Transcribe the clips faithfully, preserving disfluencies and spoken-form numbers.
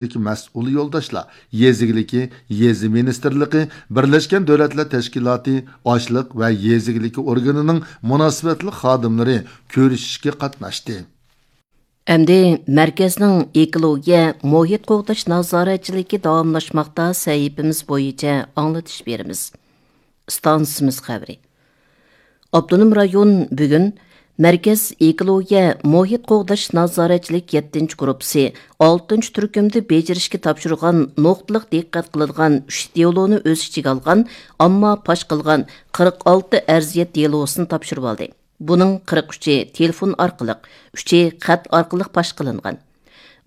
مەسئۇل يولداشلار، يېزا ئىگىلىكى، يېزا مىنىستىرلىقى، بىرلەشكەن دۆلەتلەر تەشكىلاتى ئاشلىق ۋە يېزا ئىگىلىكى ئورگىنىنىڭ مۇناسىۋەتلىك خادىملىرى كۆرۈشۈشكە قاتناشتى. ئەمدى مەركەزنىڭ ئېكولوگىيە، مۇھىت قوغداش نازارەتچىلىكى داۋاملاشماقتا سەھىپىمىز بويىچە ئاڭلىتىش بېرىمىز. ئىستانسىمىز خەۋىرى. ئاپتونوم رايون بۈگۈن مەركەز ئېكولوگىيە، مۇھىت قوغداش نازارەتچىلىك يەتتىنچى گۇرۇپپىسى ئالتىنچى تۈركۈمدە بېجىرىشكە تاپشۇرغان نۇقتىلىق دىققەت قىلىدىغان ئۈچ دېلونى ئۆز ئىچىگە ئالغان، ئەمما پاش قىلغان قىرىق ئالتە ئەرزىيەت دېلوسىنى تاپشۇرۇۋالدى. بۇنىڭ قىرىق ئۈچى تېلېفون ئارقىلىق، ئۈچى خەت ئارقىلىق پاش قىلىنغان.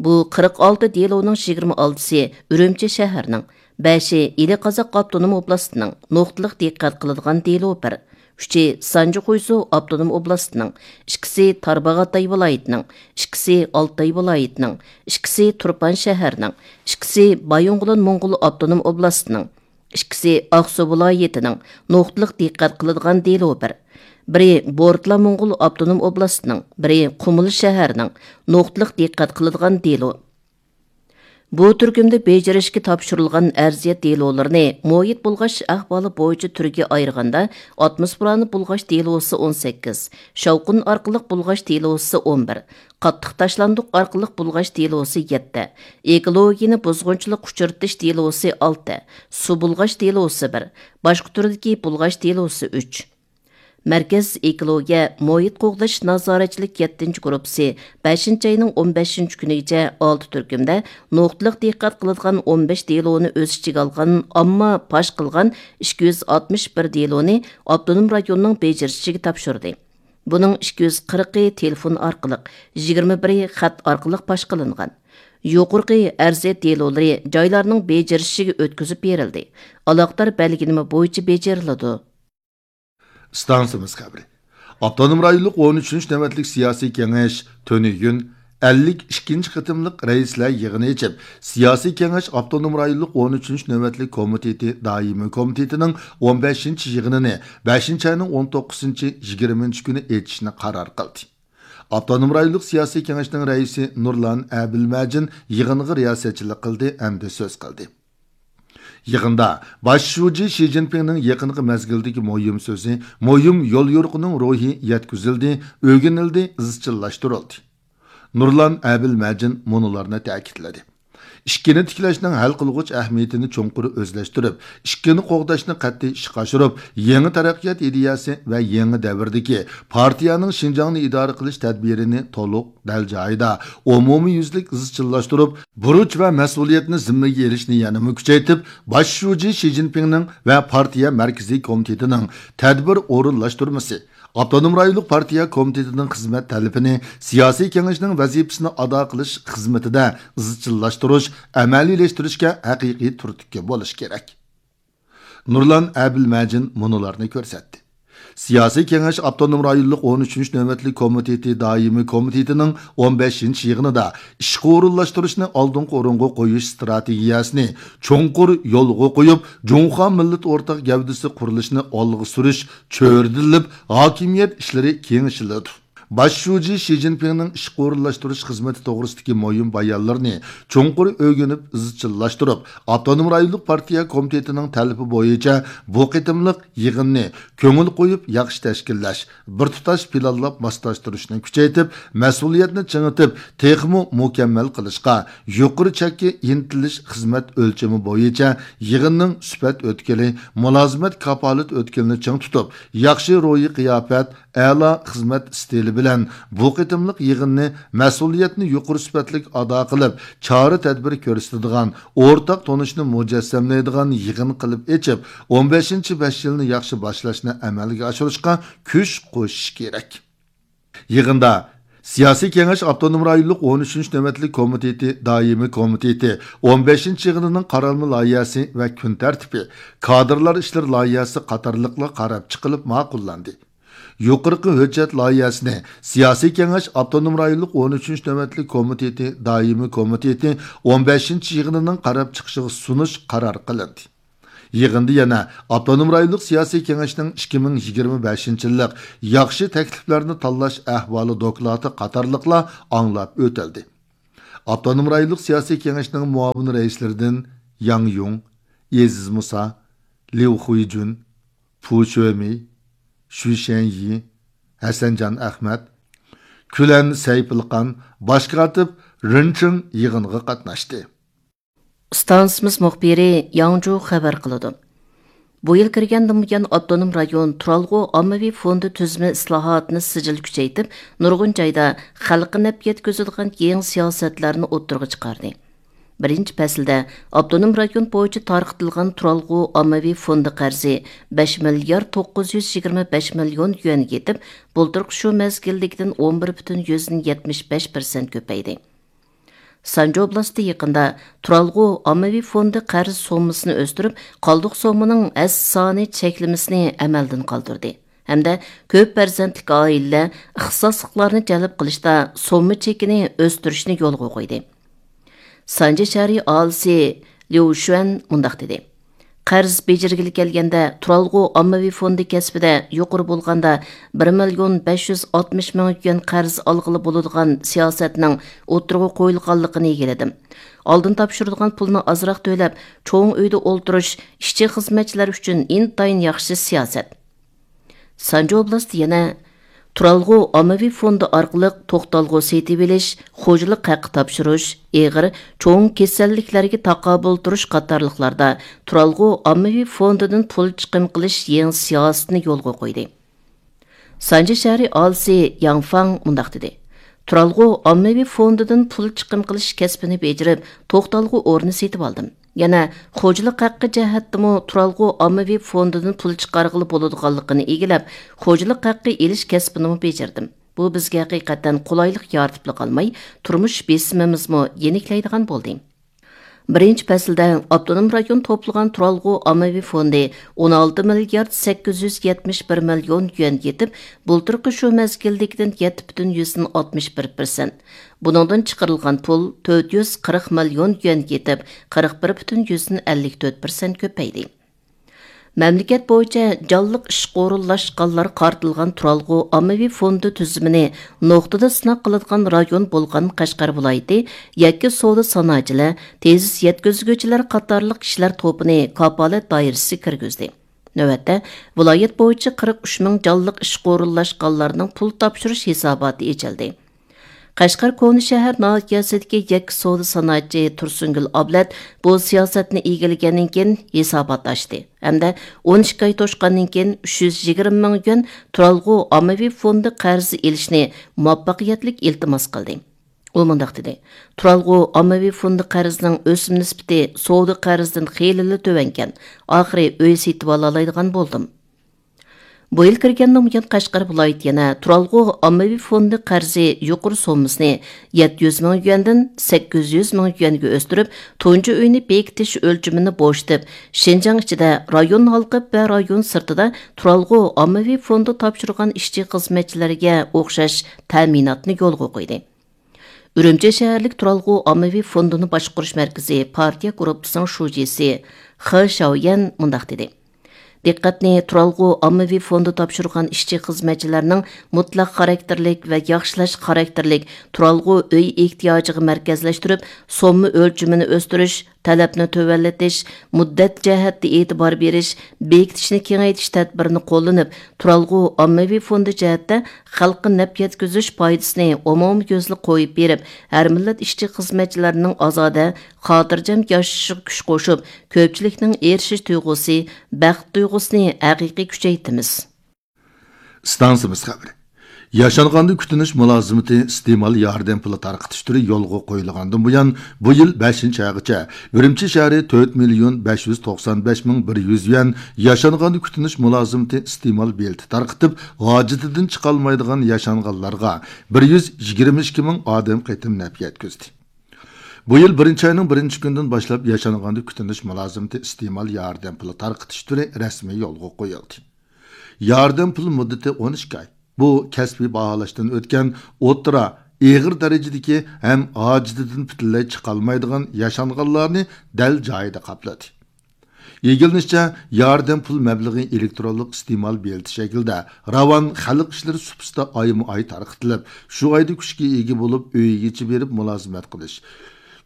بۇ قىرىق ئالتە دېلونىڭ يىگىرمە ئالتىسى ئۈرۈمچى شەھەرنىڭ، بەشى ئىلى قازاق ئاپتونوم ئوبلاستىنىڭ نۇقتىلىق دىققەت قىلىدىغان دېلو بىر، ئۈچى سانجى خۇيزۇ ئاپتونوم ئوبلاستىنىڭ، ئىككىسى تارباغاتاي ۋىلايىتىنىڭ، ئىككىسى ئالتاي ۋىلايىتىنىڭ، ئىككىسى تۇرپان شەھەرنىڭ، ئىككىسى بايىنغولىن موڭغۇل ئاپتونوم ئوبلاستىنىڭ، ئىككىسى ئاقسۇ ۋىلايىتىنىڭ نۇقتىلىق دىققەت قىلىدىغان دېلو بىر، بىرى بورتلا موڭغۇل ئاپتونوم ئوبلاستىنىڭ، بىرى قۇمۇل شەھەرنىڭ نۇقتىلىق دىققەت قىلىدىغان دېلو. بۇ تۈركۈمدە بېجىرىشكە تاپشۇرۇلغان ئەرزىيەت دېلولىرىنى مۇھىت بۇلغاش ئەھۋالى بويىچە تۈرگە ئايرىغاندا، ئاتموسفېرانى بۇلغاش دېلوسى ئون سەككىز، شاۋقۇن ئارقىلىق بۇلغاش دېلوسى ئون بىر، قاتتىق تاشلاندۇق ئارقىلىق بۇلغاش دېلوسى يەتتە، ئېكولوگىيىنى بۇزغۇنچىلىق ئۇچرىتىش دېلوسى ئالتە، سۇ بۇلغاش دېلوسى بىر، باشقا تۈردىكى بۇلغاش دېلوسى ئۈچ. مەركەز ئېكولوگىيە، مۇھىت قوغداش نازارەتچىلىك يەتتىنچى گۇرۇپپىسى بەشىنچى ئاينىڭ ئون بەشىنچى كۈنىگىچە ئالتە تۈركۈمدە نۇقتىلىق دىققەت قىلىدىغان ئون بەش دېلونى ئۆز ئىچىگە ئالغان، ئەمما پاش قىلغان ئىككى يۈز ئاتمىش بىر دېلونى ئاپتونوم رايوننىڭ بېجىرىشىگە تاپشۇردى. بۇنىڭ ئىككى يۈز قىرىقى تېلېفون ئارقىلىق، يىگىرمە بىرى خەت ئارقىلىق پاش قىلىنغان. يۇقىرىقى ئەرزىيەت دېلولىرى جايلارنىڭ بېجىرىشىگە ئۆتكۈزۈپ بېرىلدى. ئالاقىدار بەلگىلىمە بويىچە بېجىرىلىدۇ. ئىستانسىمىز خەۋىرى. ئاپتونوم رايونلۇق ئون ئۈچىنچى نۆۋەتلىك سىياسىي كېڭەش تۈنۈگۈن ئەللىك ئىككىنچى قېتىملىق رەئىسلەر يىغىنى ئېچىپ، سىياسىي كېڭەش ئاپتونوم رايونلۇق ئون ئۈچىنچى نۆۋەتلىك كومىتېتى دائىمىي كومىتېتىنىڭ ئون بەشىنچى يىغىنىنى بەشىنچى ئاينىڭ ئون توققۇزىنچى، يىگىرمىنچى كۈنى ئېچىشنى قارار قىلدى. ئاپتونوم رايونلۇق سىياسىي كېڭەشنىڭ رەئىسى نۇرلان ئەبىلمەجىن يىغىنغا رىياسەتچىلىك قىلدى ھەمدە سۆز قىلدى. يىغىندا باش شۇجى شى جىنپىڭنىڭ يېقىنقى مەزگىلدىكى مۇھىم سۆزى، مۇھىم يوليورۇقىنىڭ روھى يەتكۈزۈلدى، ئۆگىنىلدى، ئىزچىللاشتۇرۇلدى. نۇرلان ئەبىلمەجىن مۇنۇلارنى تەكىتلىدى. ئىككىنى تىكلەشنىڭ ھەل قىلغۇچ ئەھمىيىتىنى چوڭقۇر ئۆزلەشتۈرۈپ، ئىككىنى قوغداشنى قەتئىي ئىشقا ئاشۇرۇپ، يېڭى تەرەققىيات ئىدىيەسى ۋە يېڭى دەۋردىكى پارتىيەنىڭ شىنجاڭنى ئىدارە قىلىش تەدبىرىنى تولۇق، دەل جايىدا، ئومۇميۈزلۈك ئىزچىللاشتۇرۇپ، بۇرچ ۋە مەسئۇلىيەتنى زىممىگە ئېلىشنى يەنىمۇ كۈچەيتىپ، باش شۇجى شى جىنپىڭنىڭ ۋە پارتىيە مەركىزىي كومىتېتىنىڭ تەدبىر ئورۇنلاشتۇرمىسى، ئاپتونوم رايونلۇق پارتىيە كومىتېتىنىڭ خىزمەت تەلىپىنى سىياسىي كېڭەشنىڭ ۋەزىپىسىنى ئادا قىلىش خىزمىتىدە ئىزچىللاشتۇرۇش، ئەمەلىيلەشتۈرۈشكە ھەقىقىي تۈرتكە بولۇش كېرەك. نۇرلان ئەبىلمەجىن مۇنۇلارنى كۆرسەتتى. سىياسىي كېڭەش ئاپتونوم رايونلۇق ئون ئۈچىنچى نۆۋەتلىك كومىتېتى دائىمىي كومىتېتىنىڭ ئون بەشىنچى يىغىنىدا ئىشقا ئورۇنلاشتۇرۇشنى ئالدىنقى ئورۇنغا قويۇش ئىستراتېگىيەسىنى چوڭقۇر يولغا قويۇپ، جۇڭخۇا مىللىتى ئورتاق گەۋدىسى قۇرۇلۇشىنى ئالغا سۈرۈش چۆرىدىلىپ، ھاكىمىيەت ئىشلىرى كېڭىشىلىدۇ. باش شۇجى شى جىنپىڭنىڭ ئىشقا ئورۇنلاشتۇرۇش خىزمىتى توغرىسىدىكى مۇھىم بايانلىرىنى چوڭقۇر ئۆگىنىپ، ئىزچىللاشتۇرۇپ، ئاپتونوم رايونلۇق پارتىيە كومىتېتىنىڭ تەلىپى بويىچە بۇ قېتىملىق يىغىننى كۆڭۈل قويۇپ ياخشى تەشكىللەش، بىر تۇتاش پىلانلاپ ماسلاشتۇرۇشنى كۈچەيتىپ، مەسئۇلىيەتنى چىڭىتىپ، تېخىمۇ مۇكەممەل قىلىشقا، يۇقىرى چەككە ئىنتىلىش خىزمەت ئۆلچىمى بويىچە يىغىننىڭ سۈپەت ئۆتكىلى، مۇلازىمەت كاپالەت ئۆتكىلىنى چىڭ تۇتۇپ، ياخشى روھىي قىياپەت، ئەلا خىزمەت ئىستىلى بىلەن بۇ قېتىملىق يىغىننى مەسئۇلىيەتنى يۇقىرى سۈپەتلىك ئادا قىلىپ، چارە تەدبىر كۆرسىتىدىغان، ئورتاق تونۇشنى مۇجەسسەملەيدىغان يىغىن قىلىپ ئېچىپ، ئون بەشىنچى بەش يىلنى ياخشى باشلاشنى ئەمەلگە ئاشۇرۇشقا كۈچ قوشۇش كېرەك. يىغىندا سىياسىي كېڭەش ئاپتونوم رايونلۇق ئون ئۈچىنچى نۆۋەتلىك كومىتېتى دائىمىي كومىتېتى ئون بەشىنچى يىغىنىنىڭ قارالما لايىھەسى ۋە كۈن تەرتىپى، كادىرلار ئىشلىرى لايىھەسى قاتارلىقلار قاراپ چىقىلىپ ماقۇللاندى. يۇقىرىقى ھۆججەت لايىھەسىنى سىياسىي كېڭەش ئاپتونوم رايونلۇق ئون ئۈچىنچى نۆۋەتلىك كومىتېتى دائىمىي كومىتېتى ئون بەشىنچى يىغىنىنىڭ قاراپ چىقىشىغا سۇنۇش قارار قىلىندى. يىغىندا يەنە ئاپتونوم رايونلۇق سىياسىي كېڭەشنىڭ ئىككى مىڭ يىگىرمە بەشىنچى يىللىق ياخشى تەكلىپلەرنى تاللاش ئەھۋالى دوكلاتى قاتارلىقلار ئاڭلاپ ئۆتۈلدى. ئاپتونوم رايونلۇق سىياسىي كېڭەشنىڭ مۇئاۋىن رەئىسلىرىدىن ياڭ يۇڭ، ئېزىز مۇسا، ليۇ خۇيجۈن، پۇ شۆمېي، شۈ شەنيى، ھەسەنجان ئەخمەت، كۈلەن سەيپىلقان، باش كاتىپ رېن چېڭ يىغىنغا قاتناشتى. ئىستانسىمىز مۇخبىرى ياڭجۇ خەۋەر قىلىدۇ. بۇ يىل كىرگەندىن بۇيان، ئاپتونوم رايون تۇرالغۇ ئاممىۋى فوندى تۈزۈمى ئىسلاھاتىنى سىجىل كۈچەيتىپ، نۇرغۇن جايدا خەلققە نەپ يەتكۈزىدىغان يېڭى سىياسەتلەرنى ئوتتۇرىغا چىقاردى. بىرىنچى پەسىلدە ئاپتونوم رايون بويىچە تارقىتىلغان تۇرالغۇ ئاممىۋى فوندى قەرزى بەش مىليارد توققۇز يۈز يىگىرمە بەش مىليون يۈەنگە يېتىپ، بۇلتۇرقى شۇ مەزگىلدىكىدىن ئون بىر پۈتۈن يۈزدىن يەتمىش بەش پىرسەنت كۆپەيدى. سانجى ئوبلاستى يېقىندا تۇرالغۇ ئاممىۋى فوندى قەرز سوممىسىنى ئۆستۈرۈپ، قالدۇق سوممىنىڭ ھەسسە سانى چەكلىمىسىنى ئەمەلدىن قالدۇردى ھەمدە كۆپ پەرزەنتلىك ئائىلىلەر ئىختىساسلىقلارنى جەلپ قىلىشتا سومما چېكىنى ئۆستۈرۈشنى يولغا قويدى. سانجى شەھىرى ئاھالىسى ليۇ شۈەن مۇنداق دېدى: قەرز بېجىرگىلى كەلگەندە، تۇرالغۇ ئاممىۋى فوندى كەسپىدە يۇقىرى بولغاندا بىر مىليون بەش يۈز ئاتمىش مىڭ يۈەن قەرز ئالغىلى بولىدىغان سىياسەتنىڭ ئوتتۇرىغا قويۇلغانلىقىنى ئىگىلىدىم. ئالدىن تاپشۇرىدىغان پۇلنى ئازراق تۆلەپ، چوڭ ئۆيدە ئولتۇرۇش ئىشچى-خىزمەتچىلەر ئۈچۈن ئىنتايىن ياخشى سىياسەت. سانجى ئوبلاستى يەنە تۇرالغۇ ئاممىۋى فوندى ئارقىلىق توختالغۇ سېتىۋېلىش، خوجىلىق ھەققى تاپشۇرۇش، ئېغىر، چوڭ كېسەللىكلەرگە تاقابىل تۇرۇش قاتارلىقلاردا تۇرالغۇ ئاممىۋى فوندىدىن پۇل چىقىم قىلىش يېڭى سىياسىتىنى يولغا قويدى. سانجى شەھىرى ئاھالىسى ياڭ فاڭ مۇنداق دېدى: تۇرالغۇ ئاممىۋى فوندىدىن پۇل چىقىم قىلىش كەسپىنى بېجىرىپ، توختالغۇ ئورنى سېتىۋالدىم. يەنە خوجىلىق ھەققى جەھەتتىمۇ تۇرالغۇ ئاممىۋى فوندىدىن پۇل چىقارغىلى بولىدىغانلىقىنى ئىگىلەپ، خوجىلىق ھەققى ئېلىش كەسپىنىمۇ بېجىردىم. بۇ بىزگە ھەقىقەتەن قولايلىق يارىتىپلا قالماي، تۇرمۇش بېسىمىمىزمۇ يېنىكلەيدىغان بولدى. بىرىنچى پەسىلدە ئاپتونوم رايون توپلىغان تۇرالغۇ ئاممىۋى فوندى ئون ئالتە مىليارد سەككىز يۈز يەتمىش بىر مىليون يۈەنگە يېتىپ، بۇلتۇرقى شۇ مەزگىلدىكىدىن يەتتە پۈتۈن يۈزدىن ئاتمىش بىر پىرسەنت. بۇنىڭدىن چىقىرىلغان پۇل تۆت يۈز قىرىق مىليون يۈەنگە يېتىپ، قىرىق بىر پۈتۈن يۈزدىن ئەللىك تۆت پىرسەنت كۆپەيدى. مەملىكەت بويىچە جانلىق ئىشقا ئورۇنلاشقانلار قارىتىلغان تۇرالغۇ ئاممىۋى فوندى تۈزۈمىنى نۇقتىدا سىناق قىلىدىغان رايون بولغان قەشقەر ۋىلايىتى يەككە سودا سانائەتچىلەر، تېزىس يەتكۈزگۈچىلەر قاتارلىق كىشىلەر توپىنى كاپالەت دائىرىسىگە كىرگۈزدى. نۆۋەتتە، ۋىلايەت بويىچە قىرىق ئۈچ مىڭ جانلىق ئىشقا ئورۇنلاشقانلارنىڭ پۇل تاپشۇرۇش ھېساباتى ئېچىلدى. قەشقەر كونا شەھەر ناھىيەسىدىكى يەككە سودا سانائەتچى تۇرسۇنگۈل ئابلەت بۇ سىياسەتنى ئىگىلىگەندىن كېيىن ھېسابات ئاچتى ھەمدە ئون ئىككى ئاي توشقاندىن كېيىن ئۈچ يۈز يىگىرمە مىڭ يۈەن تۇرالغۇ ئاممىۋى فوندى قەرزى ئېلىشنى مۇۋەپپەقىيەتلىك ئىلتىماس قىلدى. ئۇ مۇنداق دېدى: تۇرالغۇ ئاممىۋى فوندى قەرزىنىڭ ئۆسۈم نىسبىتى سودا قەرزىدىن خېلىلا تۆۋەنكەن، ئاخىرى ئۆي سېتىۋالالايدىغان بولدۇم. بۇ يىل كىرگەندىن بۇيان، قەشقەر ۋىلايىتى يەنە تۇرالغۇ ئاممىۋى فوندى قەرزى يۇقىرى سوممىسىنى يەتتە يۈز مىڭ يۈەندىن سەككىز يۈز مىڭ يۈەنگە ئۆستۈرۈپ، تۇنجى ئۆينى بېكىتىش ئۆلچىمىنى بوشىتىپ، شىنجاڭ ئىچىدە، رايون ھالقىپ ۋە رايون سىرتىدا تۇرالغۇ ئاممىۋى فوندى تاپشۇرغان ئىشچى-خىزمەتچىلەرگە ئوخشاش تەمىناتنى يولغا قويدى. ئۈرۈمچى شەھەرلىك تۇرالغۇ ئاممىۋى فوندىنى باشقۇرۇش مەركىزى پارتىيە گۇرۇپپىسىنىڭ شۇجىسى خې شياۋيەن مۇنداق دېدى: دىققەتنى تۇرالغۇ ئاممىۋى فوندى تاپشۇرغان ئىشچى خىزمەتچىلەرنىڭ مۇتلەق خاراكتېرلىك ۋە ياخشىلاش خاراكتېرلىك تۇرالغۇ ئۆي ئېھتىياجىغا مەركەزلەشتۈرۈپ، سومما ئۆلچىمىنى ئۆستۈرۈش، تەلەپنى تۆۋەنلىتىش، مۇددەت جەھەتتە ئېتىبار بېرىش، بېكىتىشنى كېڭەيتىش تەدبىرىنى قوللىنىپ، تۇرالغۇ ئاممىۋى فوندى جەھەتتە خەلققە نەپ يەتكۈزۈش پايدىسىنى ئومۇميۈزلۈك قويۇپ بېرىپ، ھەر مىللەت ئىشچى-خىزمەتچىلەرنىڭ ئازادە، خاتىرجەم ياشىشىغا كۈچ قوشۇپ، كۆپچىلىكنىڭ ئېرىشىش تۇيغۇسى، بەخت تۇيغۇسىنى ھەقىقىي كۈچەيتىمىز. ئىستانسىمىز خەۋىرى. ياشانغاندا كۈتۈنۈش مۇلازىمىتى ئىستېمال ياردەم پۇلى تارقىتىش تۈرى يولغا قويۇلغاندىن بۇيان، بۇ يىل بەشىنچى ئايغىچە ئۈرۈمچى شەھىرى تۆت مىليون بەش يۈز توقسان بەش مىڭ بىر يۈز يۈەن ياشانغاندا كۈتۈنۈش مۇلازىمىتى ئىستېمال بېلىتى تارقىتىپ، ھاجىتىدىن چىقالمايدىغان ياشانغانلارغا بىر يۈز يىگىرمە ئىككى مىڭ ئادەم قېتىم نەپ يەتكۈزدى. بۇ يىل بىرىنچى ئاينىڭ بىرىنچى كۈنىدىن باشلاپ ياشانغاندا كۈتۈنۈش مۇلازىمىتى ئىستېمال ياردەم پۇلى تارقىتىش تۈرى رەسمىي يولغا قويۇلدى. ياردەم پۇلى مۇددىتى ئون ئىككى ئاي. بۇ كەسپىي باھالاشتىن ئۆتكەن ئوتتۇرا، ئېغىر دەرىجىدىكى ھەم ھاجىتىدىن پۈتۈنلەي چىقالمايدىغان ياشانغانلارنى دەل جايىدا قاپلىدى. ئىگىلىنىشىچە، ياردەم پۇل مەبلىغى ئېلېكترونلۇق ئىستېمال بېلىتى شەكلىدە راۋان خەلق ئىشلىرى سۇپىسىدا ئايمۇ ئاي تارقىتىلىپ، شۇ ئايدا كۈچكە ئىگە بولۇپ، ئۆيىگىچە بېرىپ مۇلازىمەت قىلىش،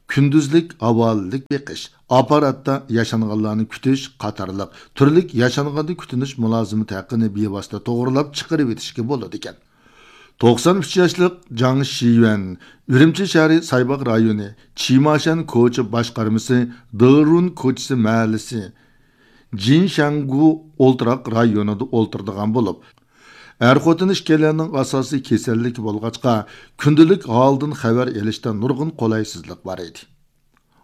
كۈندۈزلۈك ھاۋالىلىك بېقىش، ئاپپاراتتا ياشانغانلارنى كۈتۈش قاتارلىق تۈرلۈك ياشانغاندا كۈتۈنۈش مۇلازىمىتى ھەققىنى بىۋاسىتە توغرىلاپ چىقىرىۋېتىشكە بولىدىكەن. توقسان ئۈچ ياشلىق جاڭ شىيۈەن ئۈرۈمچى شەھىرى سايباغ رايونى چىماشەن كوچا باشقارمىسى دېرۇن كوچىسى مەھەللىسى جىنشەنگۇ ئولتۇراق رايونىدا ئولتۇرىدىغان بولۇپ، ئەر-خوتۇن ئىككىيلەننىڭ ئاساسىي كېسەللىكى بولغاچقا، كۈندىلىك ھالدىن خەۋەر ئېلىشتا نۇرغۇن قولايسىزلىق بار ئىدى.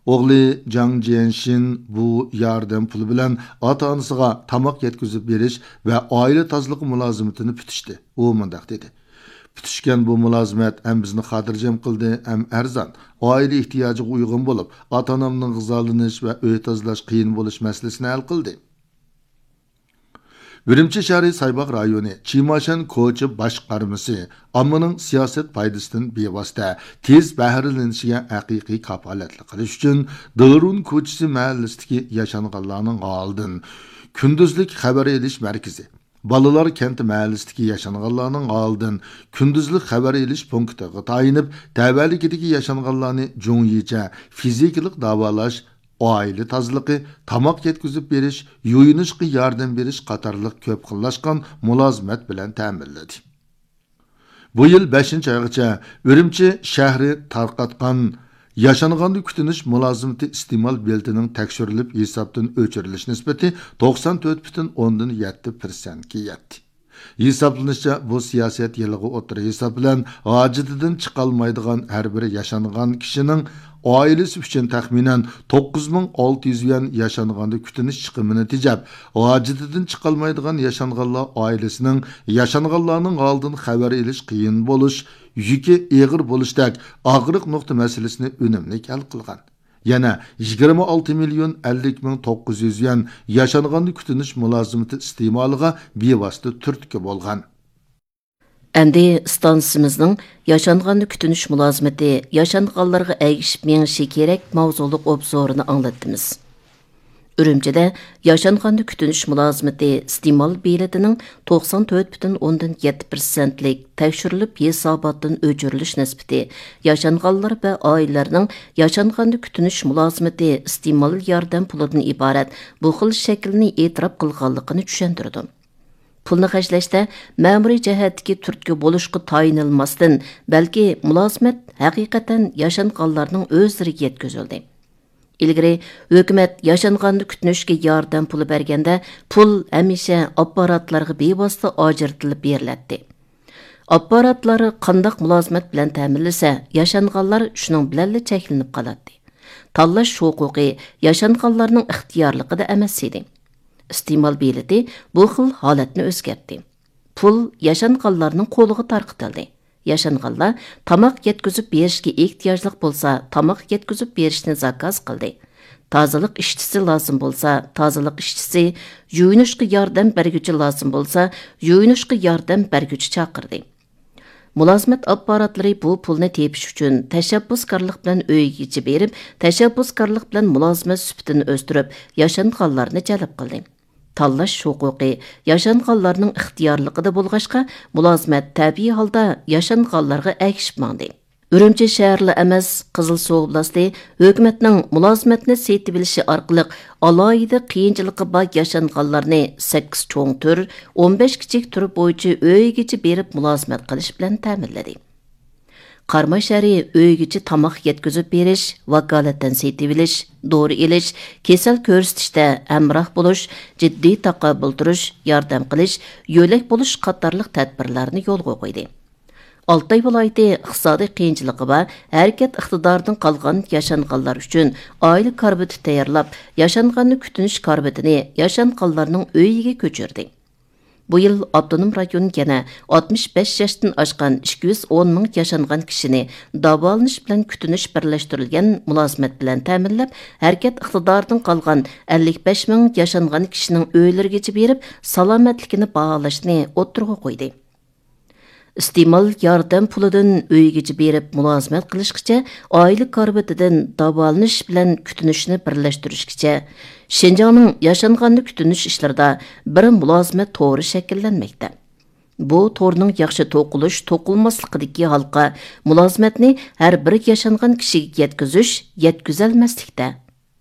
ئوغلى جاڭ جيەنشىن بۇ ياردەم پۇلى بىلەن ئاتا-ئانىسىغا تاماق يەتكۈزۈپ بېرىش ۋە ئائىلە تازىلىقى مۇلازىمىتىنى پۈتۈشتى. ئۇ مۇنداق دېدى: «پۈتۈشكەن بۇ مۇلازىمەت ھەم بىزنى خاتىرجەم قىلدى، ھەم ئەرزان، ئائىلە ئېھتىياجىغا ئۇيغۇن بولۇپ، ئاتا-ئانامنىڭ غىزالىنىش ۋە ئۆي تازىلاش قىيىن بولۇش مەسىلىسىنى ھەل قىلدى.» ئۈرۈمچى شەھىرى سايباغ رايونى چىماشەن كوچا باشقارمىسى ئاممىنىڭ سىياسەت پايدىسىدىن بىۋاسىتە تېز بەھرىلىنىشىگە ھەقىقىي كاپالەتلىك قىلىش ئۈچۈن، دېرۇن كوچىسى مەھەللىسىدىكى ياشانغانلارنىڭ ھالىدىن كۈندۈزلۈك خەۋەر ئېلىش مەركىزى، بالىلار كەنتى مەھەللىسىدىكى ياشانغانلارنىڭ ھالىدىن كۈندۈزلۈك خەۋەر ئېلىش پونكىتىغا تايىنىپ، تەۋەلىكىدىكى ياشانغانلارنى جۇڭيىچە فىزىكىلىق داۋالاش، ئائىلە تازىلىقى، تاماق يەتكۈزۈپ بېرىش، يۇيۇنۇشقا ياردەم بېرىش قاتارلىق كۆپ خىللاشقان مۇلازىمەت بىلەن تەمىنلىدى. بۇ يىل بەشىنچى ئايغىچە ئۈرۈمچى شەھىرى تارقاتقان ياشانغاندا كۈتۈنۈش مۇلازىمىتى ئىستېمال بېلىتىنىڭ تەكشۈرۈلۈپ ھېسابتىن ئۆچۈرۈلۈش نىسبىتى توقسان تۆت پۈتۈن ئوندىن يەتتە پىرسەنتكە يەتتى. ھېسابلىنىشىچە، بۇ سىياسەت يىلىغا ئوتتۇرا ھېساب بىلەن ھاجىتىدىن چىقالمايدىغان ھەر بىر ياشانغان كىشىنىڭ ئائىلىسى ئۈچۈن تەخمىنەن توققۇز مىڭ ئالتە يۈز يۈەن ياشانغاندا كۈتۈنۈش چىقىمىنى تېجەپ، ھاجىتىدىن چىقالمايدىغان ياشانغانلار ئائىلىسىنىڭ ياشانغانلارنىڭ ھالىدىن خەۋەر ئېلىش قىيىن بولۇش، يۈكى ئېغىر بولۇشتەك ئاغرىق نۇقتا مەسىلىسىنى ئۈنۈملۈك ھەل قىلغان. يەنە يىگىرمە ئالتە مىليون ئەللىك مىڭ توققۇز يۈز يۈەن ياشانغاندا كۈتۈنۈش مۇلازىمىتى ئىستېمالىغا بىۋاسىتە تۈرتكە بولغان. ئەمدى ئىستانسىمىزنىڭ ياشانغاندا كۈتۈنۈش مۇلازىمىتى ياشانغانلارغا ئەگىشىپ مېڭىشى كېرەك ماۋزۇلۇق ئوبزورىنى ئاڭلاتتىمىز. ئۈرۈمچىدە ياشانغاندا كۈتۈنۈش مۇلازىمىتى ئىستېمال بېلىتىنىڭ توقسان تۆت پۈتۈن ئوندىن يەتتە پىرسەنتلىك تەكشۈرۈلۈپ ھېساباتتىن ئۆچۈرۈلۈش نىسبىتى ياشانغانلار ۋە ئائىلىلەرنىڭ ياشانغاندا كۈتۈنۈش مۇلازىمىتى ئىستېمال ياردەم پۇلىدىن ئىبارەت بۇ خىل شەكىلنى ئېتىراپ قىلغانلىقىنى چۈشەندۈرىدۇ. پۇلنى خەجلەشتە مەمۇرىي جەھەتتىكى تۈرتكە بولۇشقا تايىنىلماستىن، بەلكى مۇلازىمەت ھەقىقەتەن ياشانغانلارنىڭ ئۆزلىرىگە يەتكۈزۈلدى. ئىلگىرى ھۆكۈمەت ياشانغاندا كۈتۈنۈشكە ياردەم پۇلى بەرگەندە، پۇل ھەمىشە ئاپپاراتلارغا بىۋاسىتە ئاجرىتىلىپ بېرىلەتتى. ئاپپاراتلار قانداق مۇلازىمەت بىلەن تەمىنلىسە، ياشانغانلار شۇنىڭ بىلەنلا چەكلىنىپ قالاتتى. تاللاش ھوقۇقى ياشانغانلارنىڭ ئىختىيارلىقىدا ئەمەس ئىدى. ئىستېمال بېلىتى بۇ خىل ھالەتنى ئۆزگەرتتى. پۇل ياشانغانلارنىڭ قولىغا تارقىتىلدى. ياشانغانلار تاماق يەتكۈزۈپ بېرىشكە ئېھتىياجلىق بولسا، تاماق يەتكۈزۈپ بېرىشنى زاكاز قىلدى. تازىلىق ئىشچىسى لازىم بولسا، تازىلىق ئىشچىسى، يۇيۇنۇشقا ياردەم بەرگۈچى لازىم بولسا، يۇيۇنۇشقا ياردەم بەرگۈچى چاقىردى. مۇلازىمەت ئاپپاراتلىرى بۇ پۇلنى تېپىش ئۈچۈن تەشەببۇسكارلىق بىلەن ئۆيگىچە بېرىپ، تەشەببۇسكارلىق بىلەن مۇلازىمەت سۈپىتىنى ئۆستۈرۈپ، ياشانغانلارنى جەلپ قىلدى. تاللاش ھوقۇقى ياشانغانلارنىڭ ئىختىيارلىقىدا بولغاچقا، مۇلازىمەت تەبىئىي ھالدا ياشانغانلارغا ئەگىشىپ ماڭدى. ئۈرۈمچى شەھەرلا ئەمەس، قىزىلسۇ ئوبلاستى ھۆكۈمەتنىڭ مۇلازىمەتنى سېتىۋېلىشى ئارقىلىق ئالاھىدە قىيىنچىلىقى بار ياشانغانلارنى سەككىز چوڭ تۈر، ئون بەش كىچىك تۈر بويىچە ئۆيىگىچە بېرىپ مۇلازىمەت قىلىش بىلەن تەمىنلىدى. قاراماي شەھىرى ئۆيگىچە تاماق يەتكۈزۈپ بېرىش، ۋاكالىتەن سېتىۋېلىش، دورا ئېلىش، كېسەل كۆرسىتىشتە ھەمراھ بولۇش، جىددىي تاقابىل تۇرۇش، ياردەم قىلىش، يۆلەك بولۇش قاتارلىق تەدبىرلەرنى يولغا قويدى. ئالتاي ۋىلايىتى ئىقتىسادىي قىيىنچىلىقى بار، ھەرىكەت ئىقتىدارىدىن قالغان ياشانغانلار ئۈچۈن ئائىلە كارىۋىتى تەييارلاپ، ياشانغاننى كۈتۈنۈش كارىۋىتىنى ياشانغانلارنىڭ ئۆيىگە كۆچۈردى. بۇ يىل ئاپتونوم رايون يەنە ئاتمىش بەش ياشتىن ئاشقان ئىككى يۈز ئون مىڭ ياشانغان كىشىنى داۋالىنىش بىلەن كۈتۈنۈش بىرلەشتۈرۈلگەن مۇلازىمەت بىلەن تەمىنلەپ، ھەرىكەت ئىقتىدارىدىن قالغان ئەللىك بەش مىڭ ياشانغان كىشىنىڭ ئۆيلىرىگىچە بېرىپ، سالامەتلىكىنى باھالاشنى ئوتتۇرىغا قويدى. ئىستېمال ياردەم پۇلىدىن ئۆيگىچە بېرىپ مۇلازىمەت قىلىشقىچە، ئائىلە كارىۋىتىدىن داۋالىنىش بىلەن كۈتۈنۈشنى بىرلەشتۈرۈشكىچە، شىنجاڭنىڭ ياشانغاننى كۈتۈنۈش ئىشلىرىدا بىر مۇلازىمەت تورى شەكىللەنمەكتە. بۇ تورنىڭ ياخشى توقۇلۇش، توقۇلماسلىقىدىكى ھالقا مۇلازىمەتنى ھەر بىر ياشانغان كىشىگە يەتكۈزۈش، يەتكۈزەلمەسلىكتە.